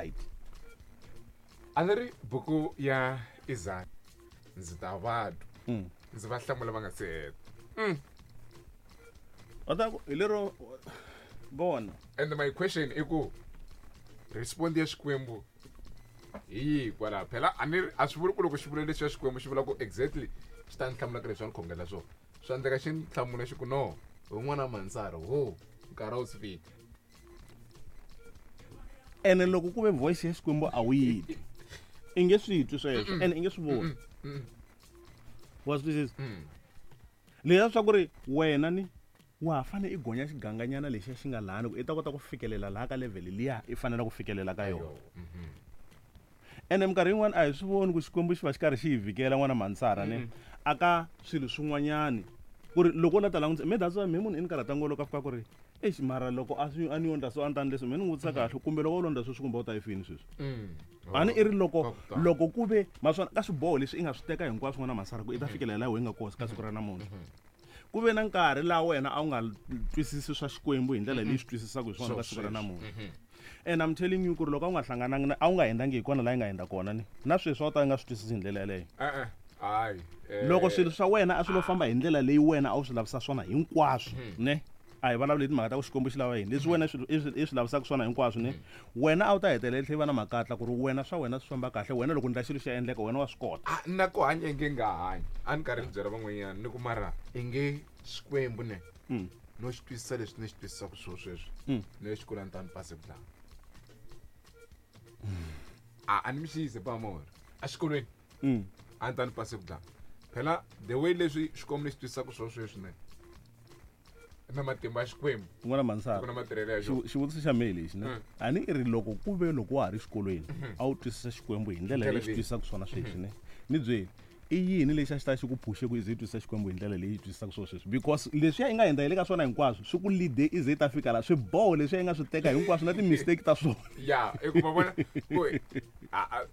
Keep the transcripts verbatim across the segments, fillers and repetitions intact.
right. A ni ri buku ya Isaya ndzi ta va twa Mm. ndzi va hlamula va nga se heta. Va ta ku hi lero vona. And my question i ku respond ya Xikwembu hi yihi kwalaho? Phela a ni ri a swi vuli ku loko xi vula leswi ya Xikwembu xi vula ku exactly xi ta ni hlamula ka leswi a ni khongela swona. Swa endleka xi ni hlamula xi ku no hi n'wana Mansara ho nkarhi a wu si fika. Ene loko ku ve voice ya Xikwembu a wu yi twi, i nge swi twi sweswo ene i nge swi voni. Wa swi twisisa? Leswiya swa ku ri wena ni wa ha fane i gonya xiganganyana lexiya xi nga lahani ku i ta kota ku fikelela laha ka level liya i fanele ku fikelela ka yona. Ene minkarhi yin'wani a hi swi voni ku Xikwembu xi va xi karhi xi hi vhikela n'wana Mansara ne a ka swilo swin'wanyani ku ri loko u la ta langutisa me that's why me munhu i ni karhata ngopfu loko a fika ku ri eish mara loko a swi a ni yo ndla so a ni ta ni leswi me ni n'wi vutisa kahle kumbe loko u lo ndla sweswi kumbe u ta yi fini sweswi. A ni i ri loko loko ku ve maswona ka swiboho leswi i nga swi teka hinkwaswo n'wana Mansara ku i ta fikelela laha wena i nga kona ka siku ra namuntlha. Ku ve na nkarhi laha wena a wu nga twisisi swa Xikwembu hi ndlela leyi swi twisisaka hi swona ka siku ra namuntlha. And I'm telling you ku ri loko a wu nga hlanganangi na a wu nga hundzangi hi kona laha yi nga hundza kona ni na sweswi a wu ta nga swi twisisi hi ndlela yeleyo. E-e, hayi, eh. Loko swilo swa wena a swi lo famba hi ndlela leyi wena a wu swi lavisa swona hinkwaswo ne a hi vulavuli hi timhaka ta ku Xikwembu xi lava yini leswi wena swi i swi i swi lavisaka swona hinkwaswo ne wena a wu ta hetelela i tlhela i va na makatla ku ri wena swa wena swi famba kahle wena loko ni ndla xilo xi ya endleka wena wa swi kota. A na ku hanya inge nga hanyi a ni karhi ni byela van'wanyana ni ku mara inge Xikwembu ne no xi twisisa leswi ni xi twisisaka swona sweswi no xi kula ni ta ni pase ku dlaya. A a ni mi xiyise pa mora exikolweni a ni ta ni pase ku dlaya. Phela the way leswi Xikwembu ni xi twisisaka swona sweswi ne na matimba ya Xikwembu N'wana Mansara, ku na matirhelo ya xona. xivu-, xivutiso xa mehe lexi ne a ni i ri loko ku ve loko wa ha ri xikolweni a wu twisisa Xikwembu hi ndlela leyi xi twisisaka swona sweswi ne ni byeli i yini lexi a xi ta xi ku phushe ku i ze i twisisa Xikwembu hi ndlela leyi yi twisisaka swona sweswi? Because leswiya i nga hundza hi le ka swona hinkwaswo swi ku lead-e i ze i ta fika laha swiboho leswiya i nga swi teka hinkwaswo na ti-mistake ta swona. Ya, i ku va vona ku a, a,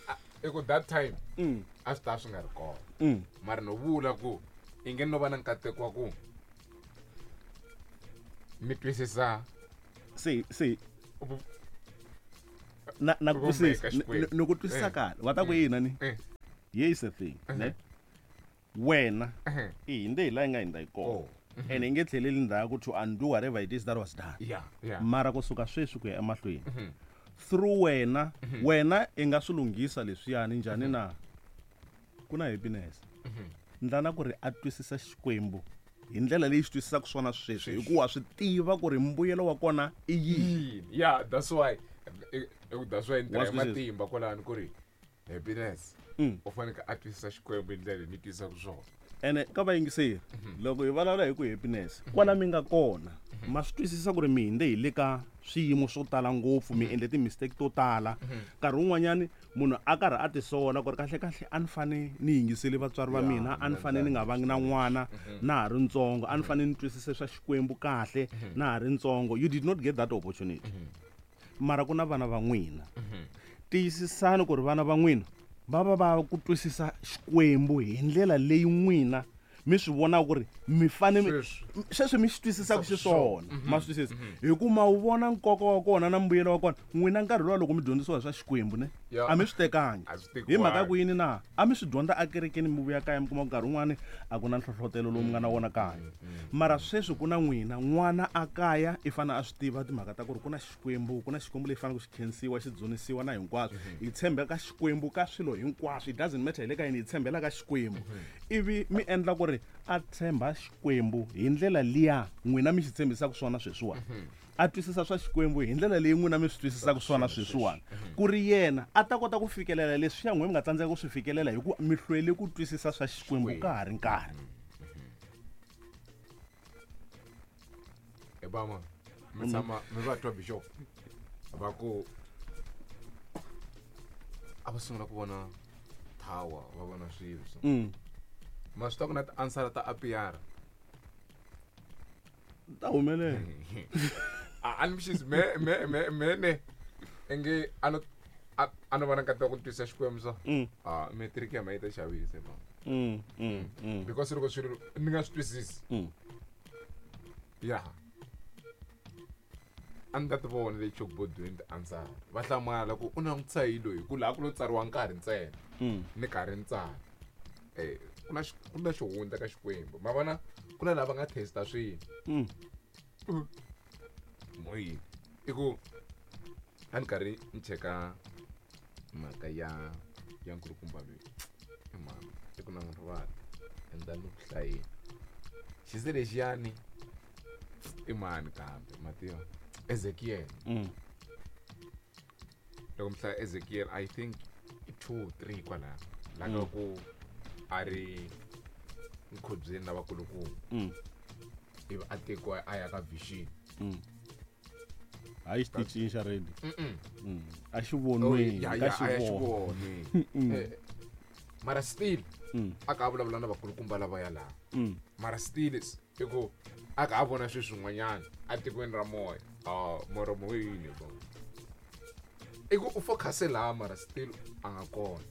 a, i ku that time a swi ta swi nga ri kona. Mara no vula ku i nge no va na nkateko wa ku mi twisisa Se, se. Vu- Na, na ku Vumbeka twisisa. Xikwembu. Ni, ni ku twisisa Eh. kahle. Wa ta ku yini ni? Eh. Here is the thing, ne? Wena Eh. i hinde hi laha yi nga hindza hi kona. Oh. And i nge tlheleli ndzhaku to undo whatever it is that was done. Yeah, yeah. Mara kusuka sweswi ku ya emahlweni. Through wena, wena i nga swi lunghisa leswiyani njhani na? Ku na happiness. Ndlana ku ri a twisisa Xikwembu hi ndlela leyi xi twisisaka swona sweswi, hikuva swi tiva ku ri mbuyelo wa kona i yini. Yini? Yeah, that's why. I, I, that's why ni Wa tirha swi twisisa? matimba kwalano ku ri happiness. Mm. U fanekele a twisisa Xikwembu hi ndlela leyi ni twisisaka swona. Ene ka vayingiseri, loko hi vulavula hi ku happiness, kwala mi nga kona, ma swi twisisa ku ri mi hinde hi le ka swiyimo swo tala ngopfu, mi endle ti-mistake to tala. Nkarhi wun'wanyani munhu a karhi a tisola ku ri kahle kahle a ni fane ni yingisele vatswari va Yeah, mina, a ni fane ni nga vangi na n'wana na ha ri ntsongo, a ni fane ni twisise swa Xikwembu kahle na ha ri ntsongo. You did not get that opportunity. Mara ku na vana va n'wina. Tiyisisani ku ri vana va n'wina va va va ku twisisa Xikwembu hi ndlela leyi n'wina mi swi vonaka ku ri mi fane mi Sweswi. sweswi mi xi twisisaka xiswona. Ma swi twisisa? Hi ku ma wu vona nkoka wa kona na mbuyelo wa kona. N'wina nkarhi luwa loko mi dyondzisiwa hi swa Xikwembu ne Ya. a mi swi tekangi. A swi Hi mhaka tekiwangi. ku yini na? A mi swi dyondza ekerekeni mi vuya kaya mi kuma nkarhi wun'wani a ku na nhlohlotelo lowu mi nga na wona kaya. Mara sweswi ku na n'wina n'wana a kaya i fanele a swi tiva timhaka ta ku ri ku na Xikwembu, ku na Xikwembu lexi faneleke xi khensiwa, xi dzunisiwa na hinkwaswo. Hi tshembeka Xikwembu ka swilo hinkwaswo. It doesn't matter hi le ka yini, hi tshembela ka Xikwembu. Ivi mi endla ku ri a tshemba Xikwembu hi ndlela liya n'wina mi xi tshembisaka swona sweswiwani. A twisisa swa Xikwembu hi ndlela leyi n'wina mi swi twisisaka swona sweswiwani. Ku ri yena a ta kota ku fikelela leswiya n'wina mi nga tsandzeka ku swi fikelela hi ku mi hlwele ku twisisa swa Xikwembu ka ha ri nkarhi. E bama, mi tshama mi va twa bishop va ku a va sungula ku vona tower, va vona swilo so. Mm. Ma swi tiva ku na ti-answer ta A P R. Ta humelela. A, a ni mi xisi, me, me, me, me ne. Inge a no, a, a no va na nkateko wa ku twisisa Xikwembu so. Mm. Ah, matric ya ma yi ta xavisa, bro. Mm, mm, mm. Because loko swilo ni nga swi twisisi. Mm. Yeah. A ni ta ti vona le chalkboardweni ti-answer va hlamala ku u langutisa hi loyi ku laha ku lo tsariwa nkarhi ntsena Mm. ni karhi ni tsala eh ku na ku na xihundla ka Xikwembu ma vona ku na lava nga testa swilo Mm. moyini i ku a ni karhi ni cheka mhaka ya ya nkulukumba loyi i mhani i ku na n'wi rivala and ni ku hlayeni xise lexiyani i mani kambe ma tiva Ezekiel Mm. loko mi hlaya Ezekiel I think i two three kwalaho la nga ku a ri nkhubyeni na vakulukumba Mm. ivi a tekiwa a ya ka vision Mm. Hayi xitichini xa radio Mm-mm. Mm. a xi Oh, vonweni ya, ka ya, a ya xivono xivonweni Eh, mara still Mm. a ka a vulavula na vakulukumba lava ya laha Mm. mara still i ku a ka a vona swilo swin'wanyana atikweni ra moya a mara moyini bo i ku u focuse laha mara still a nga kona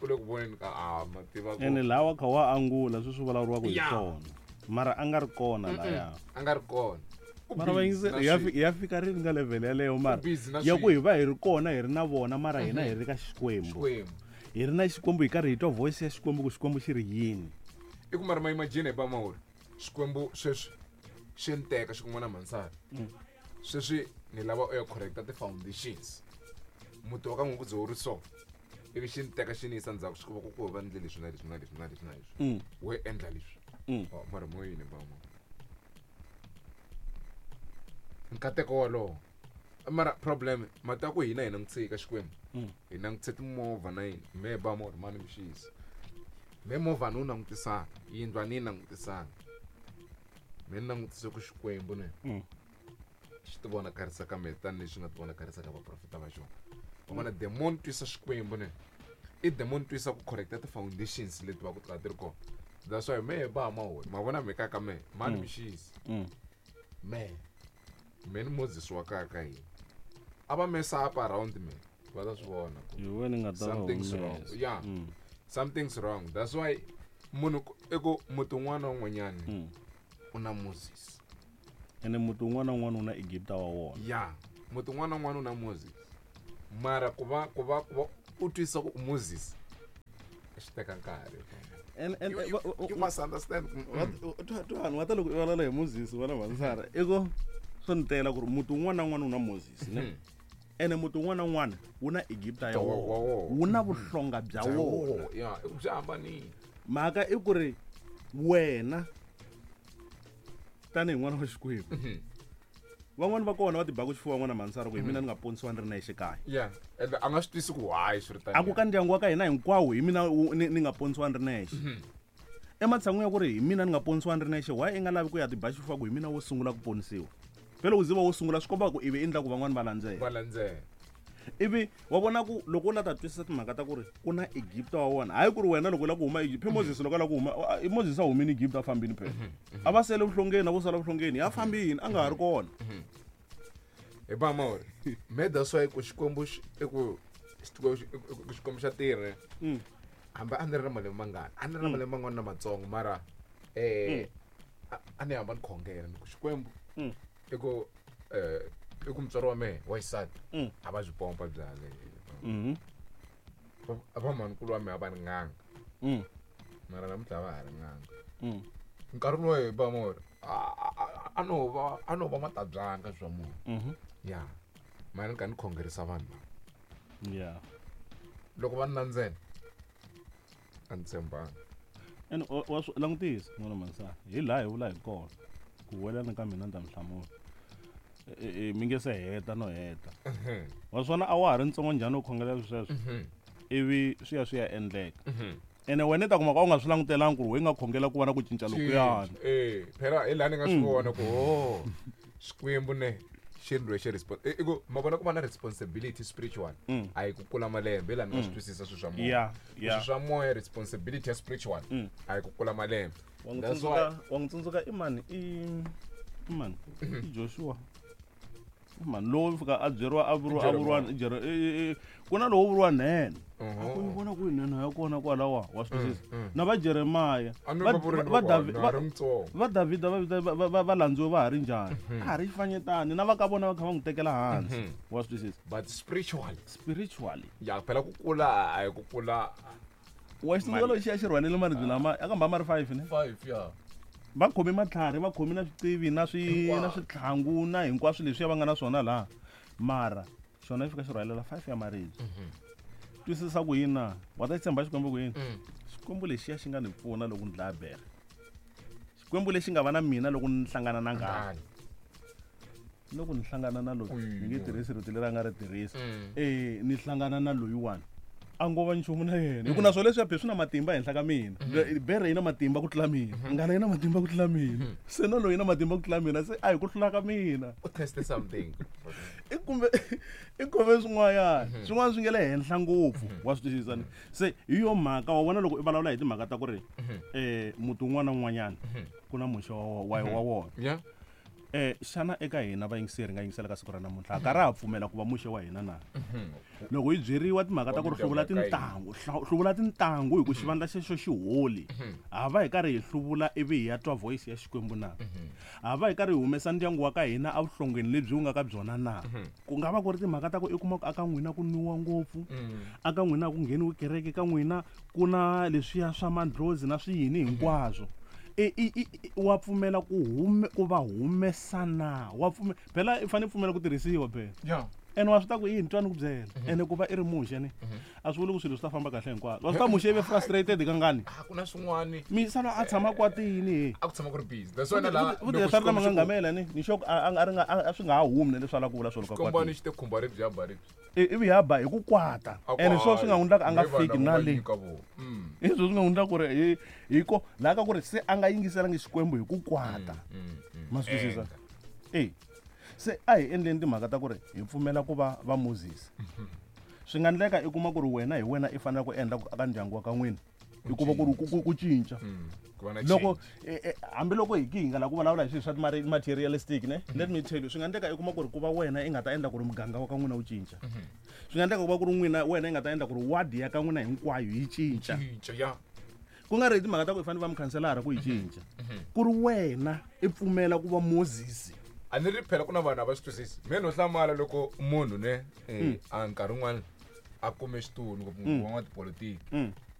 u le ku voneni ka a ma tiva ku ene laha wa kha wa angula sweswi vulavuriwaka hi Ya. swona mara a nga ri kona laya a nga ri kona U mara busy vayingiseri na hi ya swilo. fi- hi ya fika rini ka level yaleyo mara U busy na ya ku swilo. hi va hi ri kona hi ri na vona mara hina hi ri ka Xikwembu Xikwembu hi ri na Xikwembu hi karhi hi twa voice ya Xikwembu ku Xikwembu xi ri yini i ku mara ma imagine hi bamahori Xikwembu sweswi xi ni teka xi kun'wana mansana sweswi ni lava u ya correcta ti-foundations muti wa ka n'we ku ze wu ri so ivi xi ni teka xi ni yisa ndzhaku xi ku va ku ku va ndle leswi na leswi na leswi na leswi na leswi Mm. wo endla leswi Mm. Oh, mara moyini bama nkateko wolowo mara problem mati ya ku hina hi langutise ka Xikwembu Mm. hi langutise timovha na yini me bama uri mani mixisi me movha ni wu langutisanga yindlu a ni yi langutisanga me ni langutise ku Xikwembu ne Mm. xi ti vonakarisa ka mehe tanihileswi nga ti vonakarisa ka vaprofeta va xona wa vona demon twisa Xikwembu ne i demon twisa ku correcta ti-foundations leti va ku ti ti ri kona that's why mehe ba mahori ma vona mhaka ka mehe mani mixisi Mm. me me ni Moses wa kaya ka hina a va mesa up around me va ta swi vona ku hi wena nga ta va something's wrong humesa. yeah Mm. something's wrong that's why munhu ku- i ku muti un'wana na un'wanyana Mm. u na Moses ene muti wun'wana na wun'wana wu na Egipta wa wona ya muti un'wana na un'wana u na Moses mara ku va ku va ku va u twisa ku u Moses swi teka nkarhi And- and- You- you- va- va- you must understand Mm. vanhu va ta loko i vulavula hi Moses vana vansara i ku swo ni tela ku ri muti wun'wana na wun'wana wu na Moses ne ene muti wun'wana na wun'wana wu na Egipta ya Wa- wa wona wona. wu na vuhlonga bya wona ya i ku byi hambanile mhaka i ku ri wena tanihi n'wana wa Xikwembu van'wani va kona va tibaku xifuva n'wana mansara ku hi mina ni nga ponisiwa ni ri na exikaya ya ende a nga swi twisi ku why swi ri tani a ku ka ndyangu wa ka hina hinkwawo hi mina wu- ni ni nga ponisiwa ni ri nexe ematshan'wini ya ku ri hi mina ni nga ponisiwa ni ri nexe why i nga lavi ku ya tiba xifuva ku hi mina wo sungula ku ponisiwa phela u ziva wo sungula swi komba ku ivi i endla ku van'wani va landzela va landzela ivi wa vona ku loko u la ta twisisa timhaka ta ku ri ku na Egipta wa wona hayi ku ri wena loko u lava ku huma Egypt phe Moses loko a lava ku huma a- Moses a humini Egypt a fambini phela a va sele vuhlongeni a vo sala vuhlongeni ya fambini a nga ha ri kona hi ba mahori me that's why ku Xikwembu xi- i ku Xikwembu xi- i ku- ku Xikwembu xa tirha Mm. hambi a ni ri na malembe mangani a ni ri na malembe man'wana na matsongo mara eh a- a ni hamba ni khongela ni ku Xikwembu Mm. i ku eh i ku mutswari wa mehe wa xisati Mm. a va byi pompa byale Mhm. va mhanikulu wa mehe a va ri n'anga Mm. mara namuntlha a va ha ri n'anga Mm. nkarhi lowu hi ba mahori a- a- a- a no va a no va matabyanga swa munhu Mhm. ya mara ni kha ni khongerisa vanhu lava Yeah. loko va ni landzela a ni tshembanga ene wa wa swi langutisa n'wana mansana hi laha hi vula hi kona ku welana ka mina ni ta mi hlamula E- e- mi nge se heta no heta wa swona a wa ha ri ntsongo njhani u khongelela sweswo ivi swi ya swi ya endleka ene wena i ta kuma ka u nga swi langutelangi ku ri we nga khongela ku va na ku cinca lokuyani eh phela hi laha ni nga swi vona ku ho Xikwembu ne xi ndlwe xi respon i ku ma vona ku va na responsibility spiritual Mm. a hi ku kula malembe hi laha ni nga swi twisisa swilo swa moya Yeah, yeah. swilo swa moya responsibility ya spiritual Mm. a hi ku kula malembe wa n'wi That's why tsundzuka wa n'wi tsundzuka i mani i i mani i Joshua Mani lowo fika a byeriwa a vuriwa a vuriwa Jere e e ku na lowo vuriwa nene a ku yi vona ku yi nene ya kona kwalawa wa swi twisisa na va Jeremiah va va va va Davhida va va va landziwe va ha ri njhani a ha ri xifanyetani na va ka vona va kha va n'wi tekela hansi wa swi twisisa but spiritually spiritually ya phela ku kula a hi ku kula wa xitsundzuka lexi a xi rhwalele maribye lama a kamba ma ri five ne five ya va khome matlhari va khome na swicivi na swi na switlhangu na hinkwaswo leswiya va nga na swona laha mara xona xi fika xi rhwalela five ya maribye twisisa ku yini na wa ta tshemba Xikwembu ku yini Xikwembu lexiya xi nga ni pfuna loko ni dlaya bere Xikwembu lexi nga va na mina loko ni hlangana na ngani loko ni hlangana na loyi ni nge tirhisi rito leri a nga ri tirhisa eh ni hlangana na loyiwani a ngo va nchumu na yena hi ku na swo leswiya phe swi na matimba henhla ka mina bere yi na matimba ku tlula mina ngana yi na matimba ku tlula mina se na loyi na matimba ku tlula mina se a hi ku hlula ka mina u teste something i kumbe i kumbe swin'wanyana swin'wana swi nge le henhla ngopfu wa swi twisisa ni se hi yo mhaka wa vona loko i vulavula hi timhaka ta ku ri um muti wun'wana na wun'wanyana ku na muxe wa wa wona yeah eh xana eka hina vayingiseri nga yingisela ka siku ra namuntlha ka ra ha pfumela ku va muxe wa hina na loko hi byeriwa timhaka ta ku ri hluvula tintangu hluvula tintangu hi ku xivandla xexo xi holi ha va hi karhi hi hluvula ivi hi ya twa voice ya Xikwembu na ha va hi karhi hi humesa ndyangu wa ka hina evuhlongeni lebyi wu nga ka byona na ku nga va ku ri timhaka ta ku i kuma ku aka n'wina ku nwiwa ngopfu aka n'wina ku ngheniwi kereke ka n'wina ku na leswiya swa mandlozi na swiyini hinkwaswo e i wa pfumela ku hume ku va humesa na wa pfumela phela i fanele pfumela ku tirhisiwa phela yeah ene wa swi ta ku yini twani ku byela ene ku va i ri muxe ni a swi vuli ku swilo swi ta famba kahle hinkwaswo wa swi ta muxe i ve frustrated kangani a ku na swin'wani misava a tshama kwatini he a ku tshama ku ri busy that's why na la vuti swa ri na mangangamela ni ni xoko a a ri nga a swi nga ha humi na leswi a lava ku vula swona ka kwatini xi te khumba ri bya ba ri ivi ya ba hi ku kwata ene swo swi nga n'wi endlaka a nga fiki na le hi swo swi nga n'wi endlaka ku ri hi hi ko laha ka ku ri se a nga yingiselangi Xikwembu hi ku kwata ma swi twisisa e se a hi endleni timhaka ta ku ri hi pfumela ku va va Moses swi nga endleka i kuma ku ri wena hi wena i fanele ku endla ka ndyangu wa ka n'wina hikuva ku ri ku cinca loko hambiloko hi ki hi nga lava ku vulavula hi swilo swa materialistic ne let me tell you swi nga endleka i kuma ku ri ku va wena i nga ta endla ku ri muganga wa ka n'wina wu cinca swi nga endleka ku va ku ri n'wina wena i nga ta endla ku ri wadi ya ka n'wina hinkwayo yi cinca ku nga ri hi timhaka ta ku i fanele va mukhanselara ku yi cinca ku ri wena i pfumela ku va Moses a ni ri phela ku na vanhu a va swi twisisi mina no hlamala loko munhu ne a nkarhi wun'wana a kume xitulu ngopfungopfu van'watipolitiki